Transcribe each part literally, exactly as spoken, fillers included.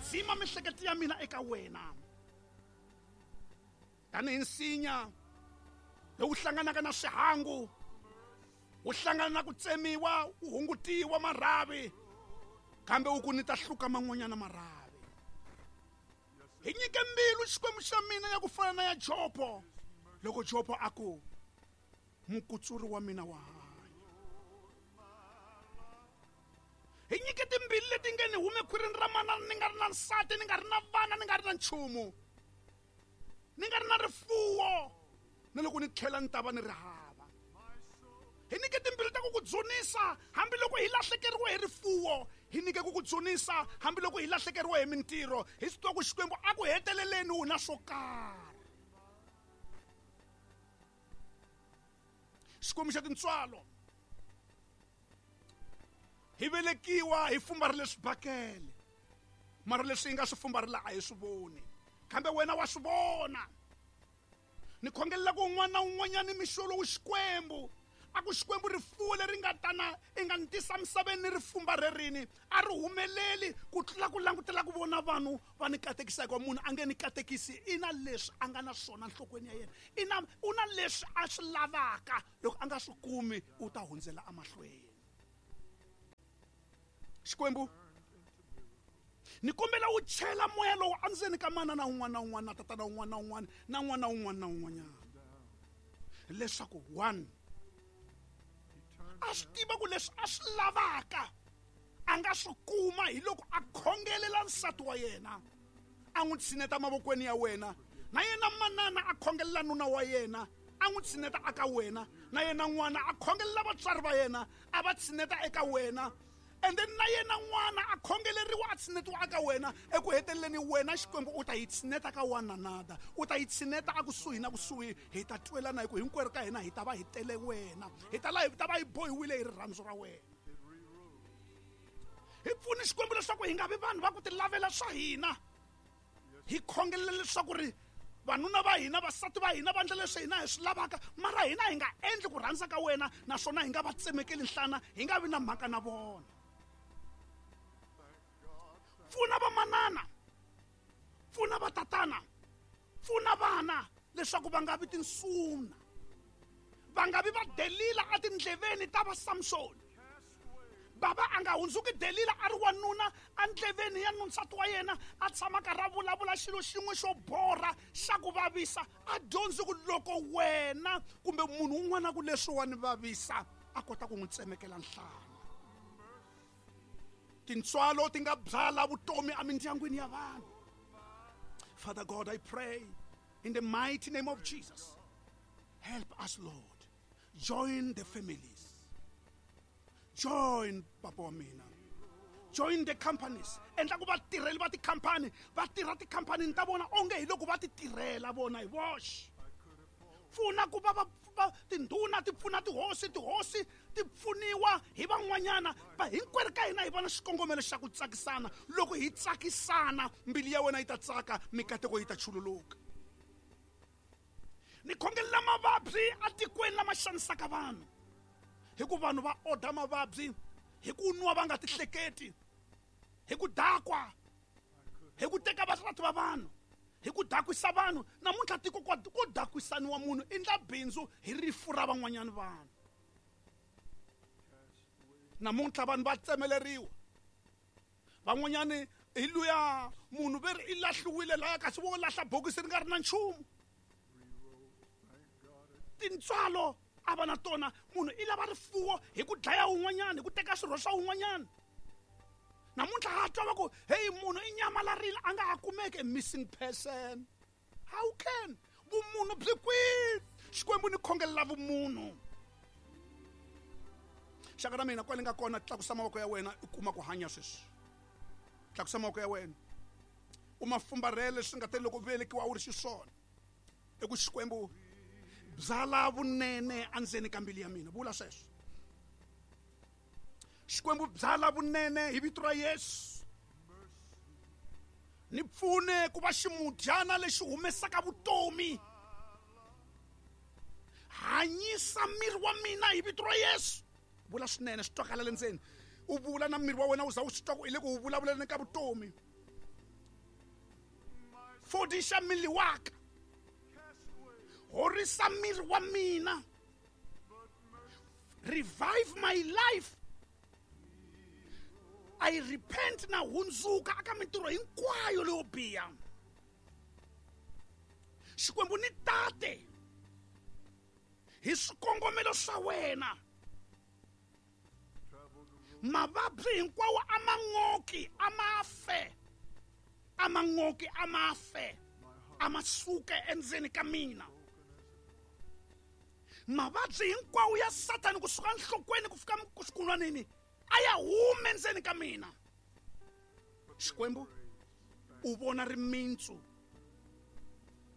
dzima miehleketo ya mina eka wena. Tanihi nsinya lowu hlanganaka na swihangu, wu hlangana na ku tsemiwa, wu hungutiwa marhavi, kambe wu ku ni ta hluka man'wanyana marhavi. Hi nyike mbilu Xikwembu xa mina ya ku fana na ya Jobo, loko Jobo a ku mukutsuri wa mina wa hanya. Hi nyike timbili leti nge ni hume khwirini ra manana ni nga ri na nsati, ni nga ri na vana, ni nga ri na nchumu, ni nga ri na rifuwo, na loko ni tlhela ni ta va ni ri hava. Hi nyike timbili ta ku ku dzunisa hambiloko hi lahlekeriwe hi rifuwo, hi nyike ku ku dzunisa hambiloko hi lahlekeriwe hi mintirho, hi swi tiva ku Xikwembu a ku heteleleni wu na swo karhi. Xikwembu xa tintswalo, hi velekiwa hi fumbarile swibakele, mara leswi hi nga swi fumbarila a hi swi voni, kambe wena wa swi vona. Ni khongelela ku un'wana na un'wanyana mixo lowu Xikwembu a ku Xikwembu rifuwo leri nga tana i nga ni tisa misaveni ni ri fumbarerini a ri humeleli ku tlula ku langutela ku vona vanhu va ni katekisa, hikuva munhu a nge ni katekisi i na leswi a nga na swona nhlokweni ya yena, i na u na leswi a swi lavaka, loko a nga swi kumi u ta hundzela emahlweni. Xikwembu ni kombela wu chela moya lowu endzeni ka manana un'wana na un'wana na tatana un'wana na un'wana na n'wana un'wana na un'wanyana, leswaku one a swi tiva ku leswi a swi lavaka a nga swi kuma hi loko a khongelela nsati wa yena, a n'wi tshineta mavokweni ya wena, na yena manana a khongelela nuna wa yena, a n'wi tshineta eka wena, na yena n'wana a khongelela vatswari va yena, a va tshineta eka wena, and then na yena n'wana a khongeleriwa a tshinetiwa eka wena. Eku heteleleni wena Xikwembu u ta yi tshineta ka one another, u ta yi tshineta akusuhi na kusuhi, hi ta twelana hi ku hinkwerhu ka hina hi ta va hi tele wena, hi ta la hi ta va hi bohiwile hi rirhandzu ra wena. Hi pfuni Xikwembu leswaku hi nga vi vanhu va ku ti lavela swa hina, hi khongelela leswaku ri vanuna va hina, vasati va hina va endla leswi hina hi swi lavaka, mara hina hi nga endli ku rhandza ka wena, naswona hi nga va tsemekeli nhlana, hi nga vi na mhaka na vona. Pfuna vamanana, pfuna vatatana, pfuna vana leswaku va nga vi tinsuna, va nga vi va Delila etindleveni ta va Samsoni. Baba a nga hundzuki Delila a ri wanuna endleveni ya nsati wa yena, a tshama karhi a vulavula xilo xin'we xo borha xa ku vavisa, a dyondzi ku loko wena kumbe munhu un'wana ku leswi wa ni vavisa a kota ku n'wi tsemekela nhlana. Tintswalo ti nga byala vutomi emindyangwini ya vanhu. Father God, I pray in the mighty name of Jesus, help us, Lord. Join the families, join papa wa mina, join the companies. Endla ku vatirheli va tikhampani va tirha tikhampanini ta vona onge hi loko va ti tirhela vona hi voxe. Pfuna ku va va tindhuna ti pfuna tihosi, tihosi ti pfuniwa hi van'wanyana, va hinkwerhu ka hina hi vona xikongomelo xa ku tsakisana. Loko hi tsakisana mbilu ya wena yi ta tsaka, mikateko yi ta chululuka. Ni khongelela mavabyi etikweni lama xanisaka vanhu, hi ku vanhu va oda mavabyi hi ku nwa va nga tihleketi, hi ku dakwa, hi ku teka vasati va vanhu, hi ku dakwisa vanhu. Namuntlha tiko ko dakwisaniwa munhu i ndla bindzu hi rifu ra van'wanyana vanhu. Namuntlha vanhu va tsemeleriwa, van'wanyani hi luya munhu ve ri i lahliwile laya, kasi vo lahla bokisi ri nga ri na nchumu. Tintswalo a va na tona, munhu i lava rifuwo hi ku dlaya un'wanyana, hi ku teka swirho swa un'wanyana. Namuntlha ha twa va ku hey, munhu i nyamalarile a nga ha kumeki, missing person. How can vumunhu byi kwihi? Xikwembu ni khongelela vumunhu. Xaka ra mina kwale nga kona, tlakusa mavoko ya wena u kuma ku hanya sweswi. Tlakusa mavoko ya wena u ma fumbarhele swi nga te loko velekiwa u ri xiswona. I ku Xikwembu byala vunene endzeni ka mbilu ya mina, vula sweswo. Xikwembu byala vunene hi vito ra Yesu, ni pfune ku va ximudyana lexi humesaka vutomi. Hanyisa miri wa mina hi vito ra Yesu. Vula swinene swi twakala le ndzeni, u vula na miri wa wena wu za wu swi twa ku i le ku wu vulavuleni ka vutomi. Fodisa mmele wa ka. Horisa miri wa mina. Revive my life. I repent na hundzuka aka mintirho hinkwayo leyo biha. Xikwembu ni tate hi swikongomelo swa wena. Mavabyi hinkwawo a ma n'oki a ma fe, a ma n'oki a ma fe, a ma suke endzeni ka mina. Mavabyi hinkwawo ya Sathani kusuka nhlokweni ku fika xikunwanini a ya hume endzeni ka mina. Xikwembu u vona rimintsu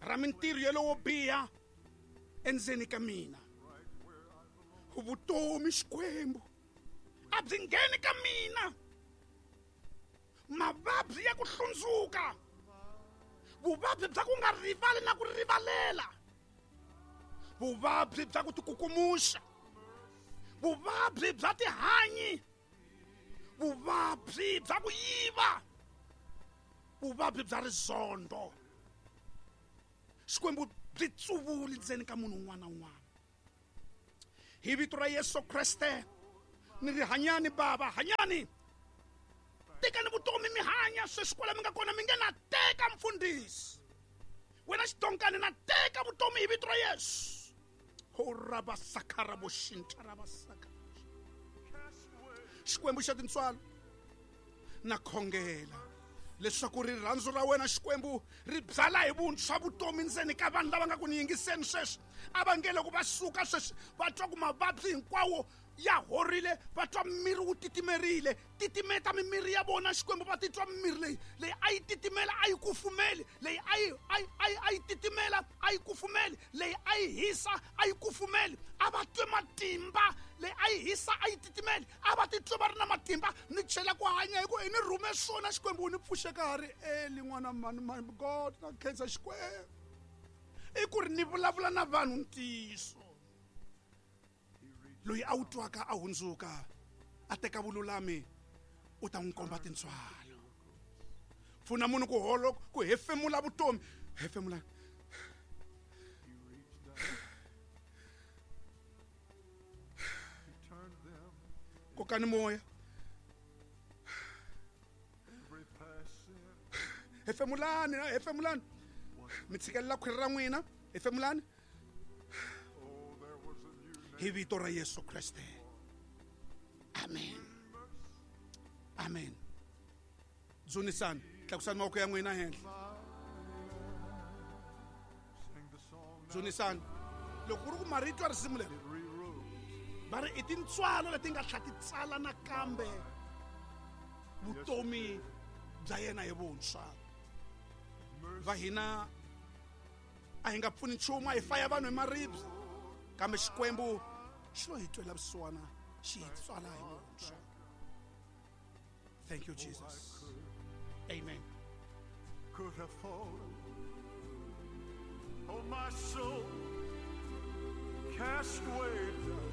ra mintirho yeleyo biha endzeni ka mina. Vutomi Xikwembu a byi ngheni ka mina. Mavabyi ya ku hlundzuka, vuvabyi bya ku nga rivali na ku rivalela, vuvabyi bya ku tikukumuxa, vuvabyi bya tihanyi, vuvabyi bya ku yiva, vuvabyi bya rizondo. Xikwembu byi tsuvuli ndzeni ka munhu un'wana na un'wana. Hi vito ra Yesu Kreste ni ri hanyani baba, hanyani. Tekani vutomi mi hanya sweswi kwala mi nga kona, mi nge na teka mfundhisi. Wena xidonkani na teka vutomi hi vito ra Yesu. Ho rabasakara boxinta rabasaka. Xikwembu xa tintswalo na khongela leswaku rirhandzu ra wena Xikwembu ri byala hi vuntshwa vutomi ndzeni ka vanhu lava nga ku ni yingiseni sweswi. A va nge loko va suka sweswi va twa ku mavabyi hinkwawo ya horile, va twa miri wu titimerile. Titimeta mimiri ya vona Xikwembu, va titwa mimiri leyi leyi a yi titimela a yi kufumeli, leyi a yi a yi a yi a yi titimela a yi kufumeli, leyi a yi hisa a yi kufumeli. A va twe matimba, leyi a yi hisa a yi titimeli, a va titwe va ri na matimba. Ni chela ku hanya hi ku i ni rhume swona Xikwembu, ni pfuxe ka ha ri eli n'wana mani my God, na khensa Xikwembu. I ku ri ni vulavula na vanhu ntiyiso. Loyi a wu twaka a hundzuka a teka vululami u ta n'wi komba tintswalo. Pfuna munhu ku holo ku hefemula vutomi. Hefemula. Kokani moya. Hefemulani, hefemulani. Mi tshikelela khwiri ra n'wina, hefemulani. Hi vito ra Yesu Kreste. Amen. Amen. Dzunisani, tlakusani mavoko ya n'wina henhla. Dzunisani. Loko ku ri ku marito ya risimu leri va ri i tintswalo leti nga tlha ti tsala nakambe vutomi bya yena hi vuntshwa. Va hina a hi nga pfuni nchumu, a hi faya vanhu hi maribye, kambe Xikwembu xi lo hi twela vusiwana, xi hi tswala hi vuntshwa. Thank you, Jesus. Amen. Could have fallen, oh my soul, cast way down.